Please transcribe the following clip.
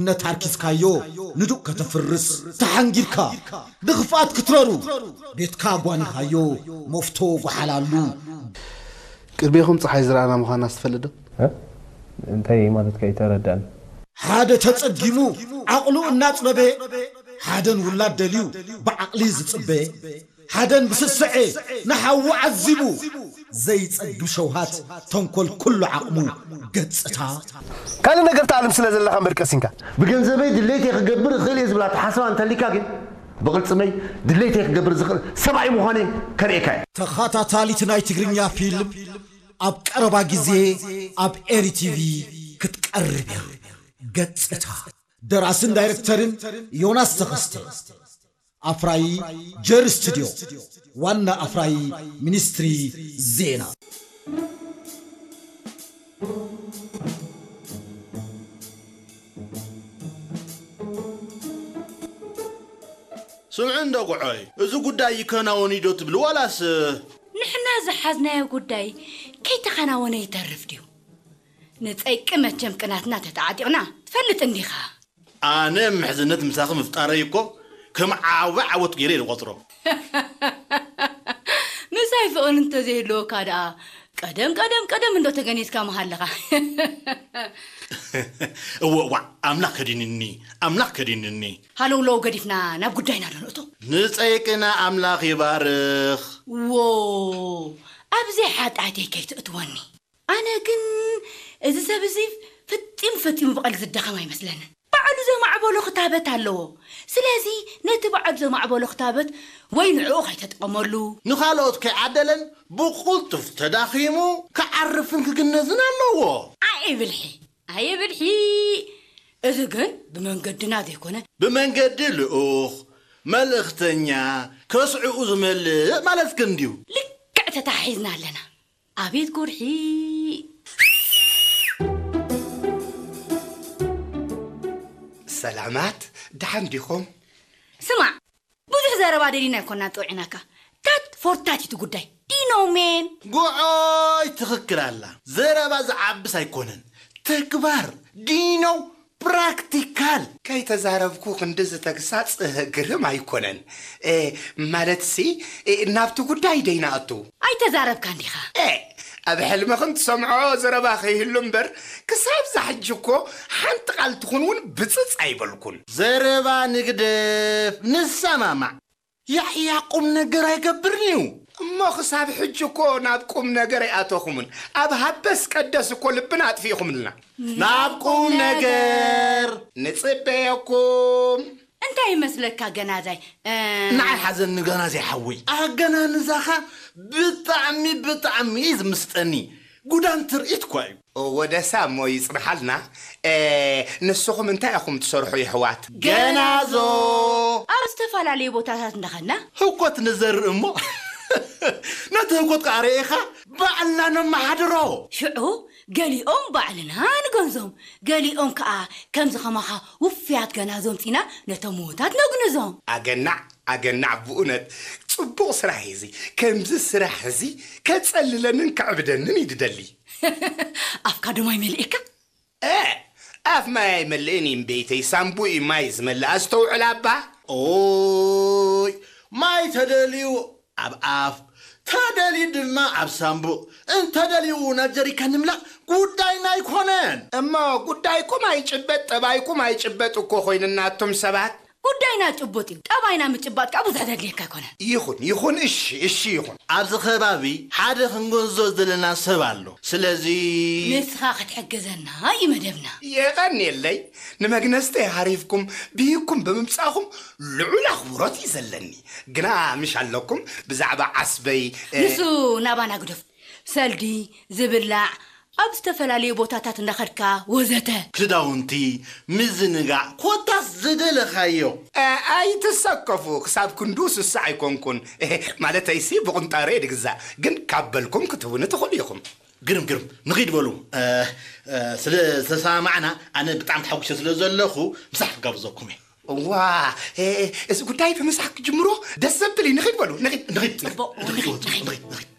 እምነት ኣርኪስካዮ ንዱቕ ከተፍርስ ተሓንጊርካ፣ ንኽፍኣት ክትረሩ ቤትካ ጓኒኻዮ መፍቶ ጓሓላሉ። ቅድሜኹም ፀሓይ ዝረኣና ምዃና ትፈልጥ ዶ? እንታይ ማለትካ ኣይተረዳእን። ሓደ ተጸጊሙ ዓቕሉ እናጽበበ፣ ሓደን ውላድ ደልዩ ብዓቕሊ ዝጽበ፣ ሓደን ብስስዐ ንሓዉ ዓዚቡ ዘይጸግብ ሸውሃት ተንኮል ኩሉ ዓቕሙ ገጽታ። ካልእ ነገር ትዓልም ስለ ዘለኻ እምበር ቀሲንካ። ብገንዘበይ ድሌተይ ክገብር እኽእል እየ ዝብል ኣተሓሳስባ እንተሊካ ግን ብቕልፅመይ ድሌተይ ክገብር ዝኽእል ሰብኣይ ምዃነይ ከርእየካ እየ። ተኸታታሊት ናይ ትግርኛ ፊልም ኣብ ቀረባ ግዜ ኣብ ኤሪ ቲቪ ክትቀርብ እያ። ገጽታ ደራስን ዳይሬክተርን ዮናስ ተኸስተ፣ ኣፍራዪ ጀር ስቱድዮ፣ ዋና ኣፍራዪ ሚኒስትሪ ዜና። ስምዑ እንዶ ጉዖይ፣ እዚ ጉዳይ ይከናወን እዩ ዶ ትብሉ ዋላስ? ንሕና ዝሓዝናዮ ጉዳይ ከይተኸናወነ ይተርፍ ድዩ? ንጸይቂ መቸም ቅናትና ተተዓጢቕና ትፈልጥ እንዲኻ። ኣነ ምሕዝነት ምሳኺ ምፍጣረይ እኮ ከም ዓቢ ዓወት ገይረ እየ ዝቖጽሮ። ምሳይ ፍቕሪ እንተዘይህልወካ ደኣ ቀደም ቀደም ቀደም እንዶ ተገኒዝካ ምሃለኻ። እወ እዋዕ ኣምላኽ ከዲንኒ ኣምላኽ ከዲንኒ። ሃለውለው ገዲፍና ናብ ጉዳይና ዶ ንእቶ? ንጸይቅና ኣምላኽ ይባርኽ። ዎ ኣብዚ ሓጢኣተይ ከይትእትወኒ። ኣነ ግን እዚ ሰብ እዚ ፈጺሙ ፈጺሙ ብቐልዲ ዝደኸም ኣይመስለንን። ባዕሉ ዘማዕበሎ ክታበት ኣለዎ። ስለዚ ነቲ ባዕሉ ዘማዕበሎ ክታበት ወይ ንዕኡ ከይተጠቐመሉ። ንኻልኦት ከይዓደለን ብቕልጡፍ ተዳኺሙ ክዓርፍን ክግነዝን ኣለዎ። ኣየ ብልሒ ኣየ ብልሒ። እዚ ግን ብመንገድና ዘይኮነ። ብመንገዲ ልኡኽ፣ መልእኽተኛ፣ ከስዕኡ ዝመልእ ማለትኪ እንድዩ። ልክዕ ተታሒዝና ኣለና። ኣቤት ጉርሒ። ሰላማት ደሓን ዲኹም? ስማዕ ብዙሕ ዘረባ ደሊና ኣይኮና ጠውዒናካ። ታት ፎርታት እቲ ጉዳይ ዲኖ ሜን። ጉዖይ ትኽክል ኣላ። ዘረባ ዝዓብስ ኣይኮነን ተግባር ዲኖ ፕራክቲካል። ከይተዛረብኩ ክንድዚ ተግሳፅ ግርም ኣይኮነን። ማለትሲ ናብቲ ጉዳይ ደይንኣቱ። ኣይተዛረብካን ዲኻ? ኣብ ሕልምኽን ትሰምዖ ዘረባ ከይህሉ እምበር ክሳብ ዛሕጂ እኮ ሓንቲ ቃል ትኹን እውን ብፅፅ ኣይበልኩን። ዘረባ ንግደፍ ንሰማማዕ። ያሕያ ቁም ነገር ኣይገብርን እዩ። እሞ ክሳብ ሕጂ እኮ ናብ ቁም ነገር ኣይኣተኹምን። ኣብ ሃበስ ቀደስ እኮ ልብና ኣጥፊእኹምልና። ናብ ቁም ነገር ንጽበየኩም። እንታይ ይመስለካ ገናዛይ? ንዓይ ሓዘኒ ገናዛይ ሓወይ፣ ኣገናንዛኻ ብጣዕሚ ብጣዕሚ እዩ ዝምስጠኒ። ጉዳን ትርኢት እኳ እዩ። ወደሳ እሞ ይጽንሓልና። ንስኹም እንታይ ኢኹም ትሰርሑ የሕዋት? ገናዞ ኣብ ዝተፈላለዩ ቦታታት እንዳኸድና ህኮት ንዘርእ እሞ ነቲ ህኮት ከዓ ርኢኻ ባዕልና ነመሓድሮ። ሽዑ ገሊኦም ባዕልና ንገንዞም፣ ገሊኦም ከዓ ከምዚ ከማኻ ውፍያት ገናዞ ኣምጺና ነቶም ምዉታት ነግንዞም። ኣገናዕ ኣገናዕ ብኡነት ጽቡቕ ስራሕ እዩ እዚ። ከምዚ ስራሕ እዚ ከጸልለንን ከዕብደንን እዩ ድደሊ። ኣፍካ ዶ ማይ መሊእካ? እ ኣፍ ማይ ኣይመልእን እዩ እምበይተይ ሳምቡእ እዩ ማይ ዝመልእ ኣስተውዕል ኣባ። ኦይ ማይ ተደልዩ ኣብ ኣፍ ተደልዩ ድማ ኣብ ሳምቡእ እንተደልዩ ናብ ጀሪካን ንምላእ ጉዳይና ኣይኮነን። እሞ ጉዳይኩም ኣይጭበጥ ጠባይኩም ኣይጭበጥ እኮ ኮይንና ኣቱም ሰባት። ጉዳይና ጭቡጥ እዩ። ጠባይና ምጭባጥ ከዓ ብዙሕ ዘድልየካ ኣይኮነን። ይኹን ይኹን እሺ እሺ ይኹን። ኣብዚ ከባቢ ሓደ ክንግንዞ ዝደለና ሰብ ኣሎ። ስለዚ ንስኻ ክትሕግዘና እዩ መደብና። የቐንየለይ ንመግነዝተይ ሃሪፍኩም ብሂግኩም ብምምጻእኹም ልዑል ኣኽብሮት እዩ ዘለኒ። ግና ምሽ ኣለኩም ብዛዕባ ዓስበይ ንሱ ናባና ግደፉ። ሰልዲ፣ ዝብላዕ፣ ኣብ ዝተፈላለዩ ቦታታት እንዳኸድካ ወዘተ። ክዳውንቲ፣ ምዝንጋዕ፣ ኮታስ ዝደለኻዮ። ኣይትሰከፉ፣ ክሳብ ክንድኡ ስሱዕ ኣይኮንኩን። ማለተይሲ ብቑንጣሮ እየ ድግዛእ፣ ግን ካብ በልኩም ክትህቡኒ ትኽእሉ ኢኹም። ግርም ግርም፣ ንኺድ በሉ። ስለ ዝተሰማማዕና ኣነ ብጣዕሚ ተሓጒሰ ስለ ዘለኹ ምሳሕ ክጋብዘኩም እየ። እዋ እዚ ጉዳይ ብምሳሕ ክጅምሮ ደስ ዘብል እዩ። ንኺድ በሉ፣ ንኺድ። ንኺድ፣ ንኺድ፣ ንኺድ፣ ንኺድ።